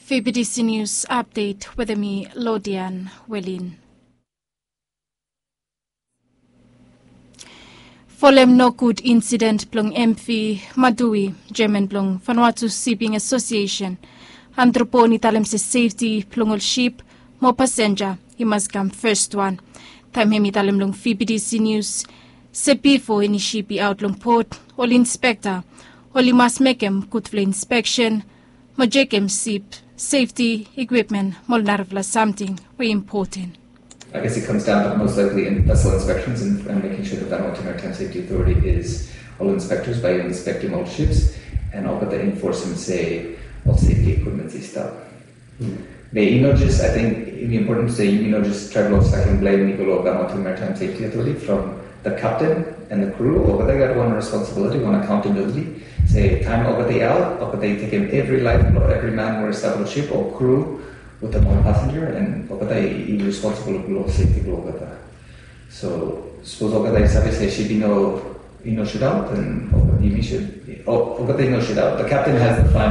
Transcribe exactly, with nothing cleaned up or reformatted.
F B T C News Update wetem mi, Lodian Welin. Folem nogud insident blong M V Madui, jeaman blong Vanuatu Shipping Association, Andrew Bourne i talem se sefti blong ol sip mo pasenja i mas kam festwan. Taem hem i talem long F B T C News se bifo eni sip i aot long pot, ol inspekta oli mas mekem gudfala inspeksen mo jekem sip sefti, ikwipmen mo ol narafala samting we i impoten. I guess it comes down to most likely in vessel inspections and, and making sure that Vanuatu Maritime Safety Authority is all inspectors by inspecting all ships and all the enforcement se all safety equipment i stap. Be i no just, I think, i important se i no just trae blong sakem blem i go long Vanuatu Maritime Safety Authority from the captain and the crew. Olgeta i gat wan responsibility, wan accountability. Se taem olgeta i aot, olgeta i tekem evri laef blong evri man we i stap long sip o crew wetem ol pasenja, and olgeta i, i responsible blong safety blong olgeta. So sapos olgeta i save se sip i no, i no sutaot, then olgeta i no sutaot. The captain has the final